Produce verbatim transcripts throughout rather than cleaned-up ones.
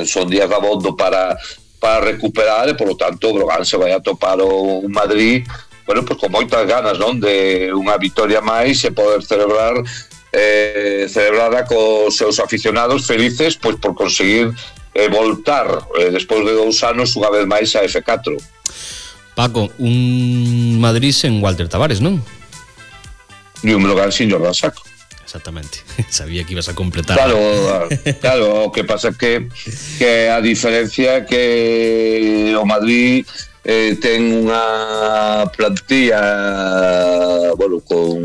son días dabondo para para recuperar e, polo tanto, o Brogan se vai a topar o Madrid, bueno, pues con moitas ganas, non, de unha vitoria máis e poder celebrar eh, celebrarla cos seus aficionados felices, pois por conseguir eh, voltar eh, despois de dous anos unha vez máis a F catro. Paco, un Madrid sen Walter Tavares, non? E un Brogan sin Jordan Sacco. Exactamente, sabía que ibas a completar. Claro, claro, o que pasa é que, que a diferencia é que o Madrid eh, ten unha plantilla, bueno, con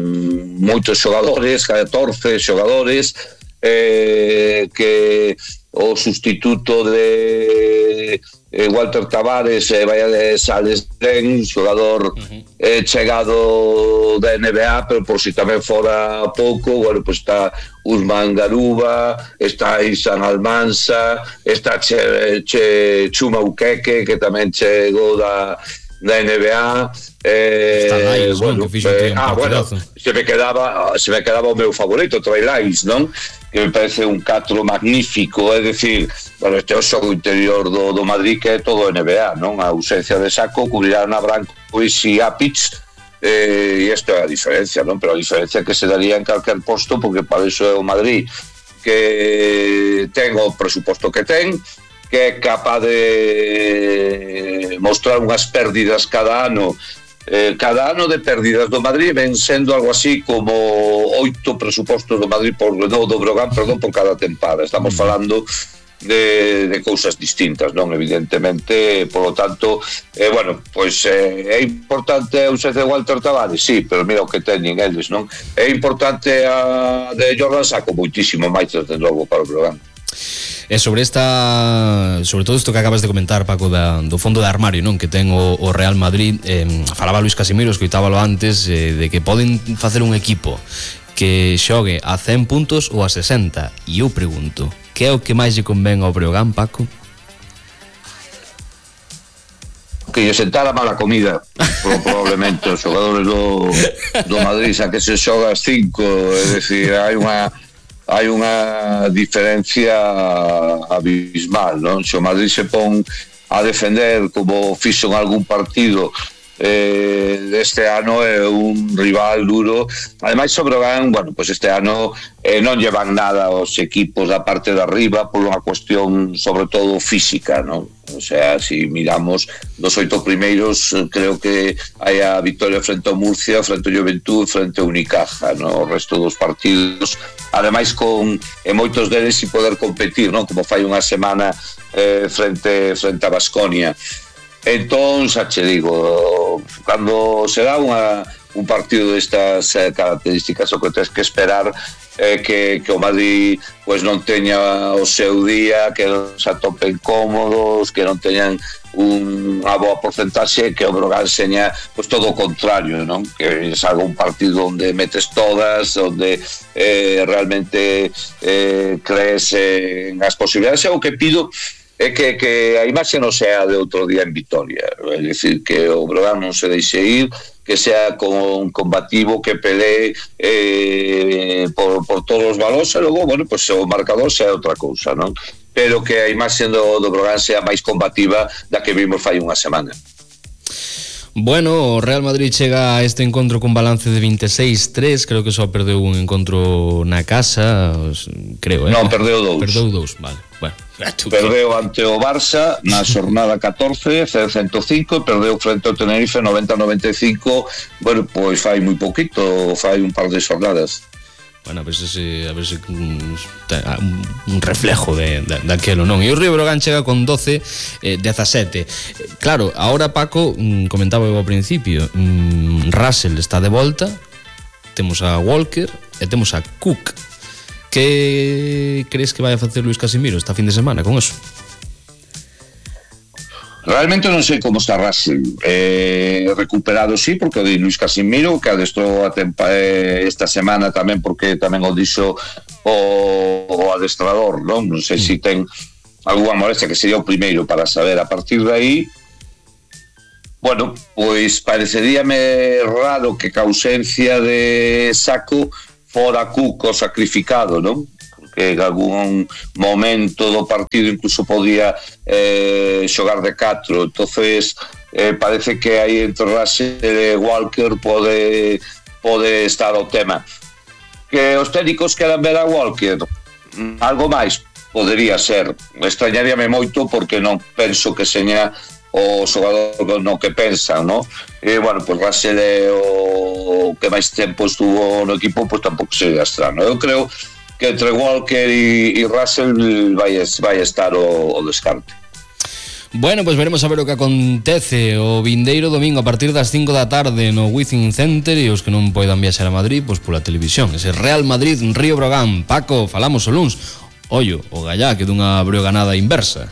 moitos xogadores, catorce xogadores, eh, que o sustituto de eh, Walter Tavares eh, vai a Sales Den, xogador uh-huh. eh, chegado da N B A, pero por si tamén fora pouco, bueno, pues está Usman Garuba, está Isan Almansa, está che, che Chuma Ukeke, que tamén chegou da da N B A, eh, está Lyles, bueno, que fixo eh, un ah, bueno, se me quedaba se me quedaba o meu favorito, Trey Lyles, non? Que me parece un catro magnífico, é dicir, bueno, este é o xogo interior do, do Madrid, que é todo N B A, non? A ausencia de Sacco, cubrirán a Branco e Apic, eh, e isto é a diferencia, non? Pero a diferencia que se daría en calquer posto, porque para iso é o Madrid que ten o presuposto que ten, que é capaz de mostrar unhas pérdidas cada ano. Eh, cada ano de pérdidas do Madrid ven sendo algo así como oito presupostos do Madrid por, no, do Brogan, perdón, por cada tempada. Estamos falando de, de cousas distintas, non? Evidentemente, por lo tanto, eh, bueno, pois eh, é importante a ausencia de Walter Tavares, sí, pero mira o que teñen eles, non? É importante a de Jordan Sacco, moitísimo máis desde logo para o Brogan. E sobre esta, sobre todo isto que acabas de comentar, Paco, da, do fondo de armario, non, que ten o, o Real Madrid, eh, falaba Luis Casimiro, escoitábalo antes, eh, de que poden facer un equipo que xogue a cen puntos ou a sesenta, e eu pregunto, que é o que máis lle convén ao Breogán, Paco? Que lle sentara mala comida, probablemente os xogadores do, do Madrid, xa que se xoga as cinco, é dicir, hai unha hai unha diferencia abismal, non? Se o Madrid se pon a defender como fixo en algún partido eh, este ano, é un rival duro. Ademais, o Brogan, bueno, pues este ano eh, non llevan nada os equipos da parte de arriba por unha cuestión sobre todo física, non? O sea, si miramos dos oito primeiros, creo que hai a victoria frente ao Murcia, frente ao Juventud, frente ao Unicaja, no? O resto dos partidos, ademais con e moitos deles sin poder competir, non? Como fai unha semana eh, frente frente a Baskonia. Entón, xa che digo, cando se dá unha, un partido destas eh, características, o que tens que esperar é que, que o Madrid pues, non teña o seu día, que non se atopen cómodos, que non teñan unha boa porcentaxe, que o Brogan seña pues, todo o contrario, non? Que salga un partido onde metes todas, onde eh, realmente eh, crees en as posibilidades. O que pido é que, que a imaxe non sea de outro día en Vitoria, é dicir, que o Brogan non se deixe ir, que sea con combativo, que pelee eh, por, por todos os valores, e logo, bueno, pues o marcador sea outra cousa, non? Pero que a imaxe do, do Brogan sea máis combativa da que vimos fai unha semana. Bueno, o Real Madrid chega a este encontro con balance de veintiséis tres, creo que só perdeu un encontro na casa, creo, eh? Non, perdeu dous. Perdeu dous, vale. Bueno, perdeu ante o Barça na xornada catorce, cento cinco, perdeu frente ao Tenerife noventa a noventa e cinco. Bueno, pois fai moi poquito, fai un par de xornadas. Bueno, a ver se, a ver se un, un reflejo de, de, daquelo, non? E o Río Brogan chega con doce, eh, dezasete. Claro, ahora Paco, comentaba eu ao principio, Russell está de volta, temos a Walker e temos a Cook. Que crees que vai a facer Luis Casimiro esta fin de semana con eso? Realmente non sei como está Russell, eh, recuperado sí, porque o di Luis Casimiro, que adestrou a tempa, eh, esta semana tamén, porque tamén o dixo o, o adestrador, non? Non sei mm. se si ten algunha molestia, que sería o primeiro para saber. A partir de aí, bueno, pois pareceríame raro que ca ausencia de Sacco fora Cuco sacrificado, non? Porque que en algún momento do partido incluso podía eh, xogar de catro, entonces eh, parece que aí entre Russell e Walker pode, pode estar o tema. Que os técnicos queran ver a Walker, algo máis podería ser, extrañaríame moito porque non penso que seña o xogador no que pensan, no? E, bueno, pues Russell é o que máis tempo estuvo no equipo, pues tampouco sería estrano. Eu creo que entre Walker e, e Russell vai, vai estar o, o descarte. Bueno, pues veremos a ver o que acontece o vindeiro domingo a partir das cinco da tarde no Wizzing Center, e os que non poidan viaxar a Madrid, pois pola televisión. Ese Real Madrid, Río Breogán. Paco, falamos o luns. Ollo, o Gallá que dunha breoganada inversa.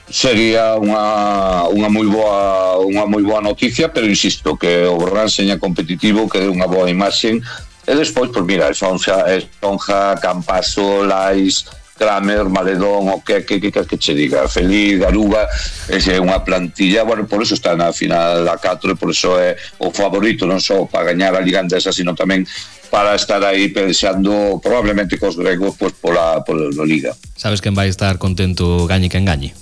Sería unha unha moi boa unha moi boa noticia, pero insisto que o Breogán seña competitivo, que dé unha boa imaxe, e despois, pois mira, Esponja, Esponja, Campaso, Lais, Kramer, Maledón, o que que que que che diga, Feliz, Garuga, é unha plantilla, bueno, por eso está na final da catro e por eso é o favorito, non só para gañar a Liga Andesa, sino tamén para estar aí pensando probablemente cos gregos pois pola, pola Liga. Sabes quen vai estar contento, gañe quen gañe?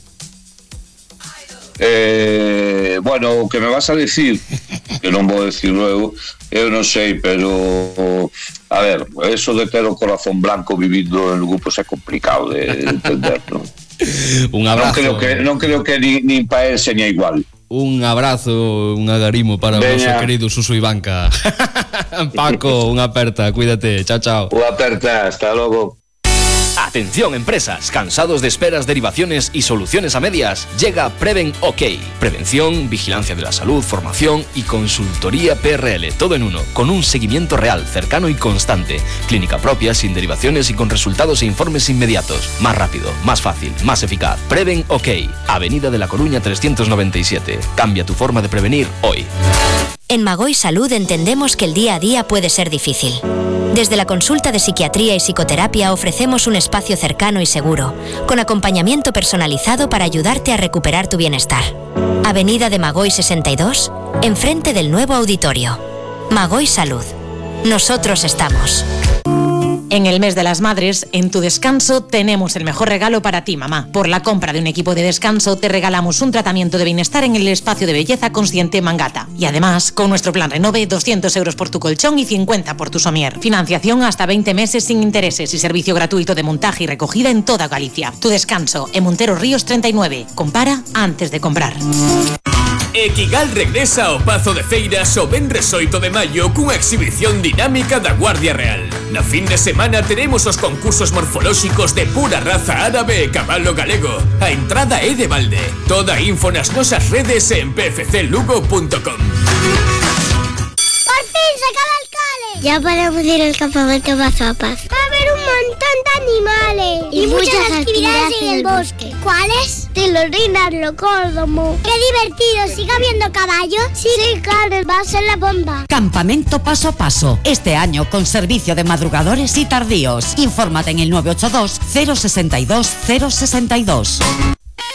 Eh, bueno, o que me vas a decir, que non vou decir luego, eu non sei, pero a ver, eso de ter o corazón blanco vivido en grupos é complicado de entender, non? Un abrazo. Non creo que, non creo que ni, ni para él seña igual. Un abrazo, un agarimo para o noso querido Suso Ivanca. Paco, unha aperta, cuídate, chao, chao. Unha aperta, hasta logo. Atención empresas, cansados de esperas, derivaciones y soluciones a medias, llega Preven OK. Prevención, vigilancia de la salud, formación y consultoría P R L, todo en uno, con un seguimiento real, cercano y constante. Clínica propia, sin derivaciones y con resultados e informes inmediatos. Más rápido, más fácil, más eficaz. Preven OK. Avenida de la Coruña trescientos noventa y siete. Cambia tu forma de prevenir hoy. En Magoi Salud entendemos que el día a día puede ser difícil. Desde la consulta de psiquiatría y psicoterapia ofrecemos un espacio cercano y seguro, con acompañamiento personalizado para ayudarte a recuperar tu bienestar. Avenida de Magoi sesenta y dos, enfrente del nuevo auditorio. Magoi Salud. Nosotros estamos. En el mes de las madres, en Tu Descanso, tenemos el mejor regalo para ti, mamá. Por la compra de un equipo de descanso, te regalamos un tratamiento de bienestar en el espacio de belleza Consciente Mangata. Y además, con nuestro plan Renove, doscientos euros por tu colchón y cincuenta por tu somier. Financiación hasta veinte meses sin intereses y servicio gratuito de montaje y recogida en toda Galicia. Tu Descanso, en Montero Ríos treinta y nueve. Compara antes de comprar. Equigal regresa ao Pazo de Feiras o venres oito de maio cunha exhibición dinámica da Guardia Real. Na fin de semana teremos os concursos morfolóxicos de pura raza árabe e cabalo galego. A entrada é de balde. Toda a info nas nosas redes en p f c lugo punto com. ¡Por fin se acaba el cole! Ya podemos ir al campamento Mazapas. Va a haber un montón de animales y, y muchas, muchas actividades, actividades en el bosque. ¿Cuáles? Tirolinas, locódromo. ¡Qué divertido! ¿Sigue habiendo caballos? Sí, sí, claro, va a ser la bomba. Campamento Paso a Paso. Este año con servicio de madrugadores y tardíos. Infórmate en el nueve ocho dos, cero seis dos, cero seis dos.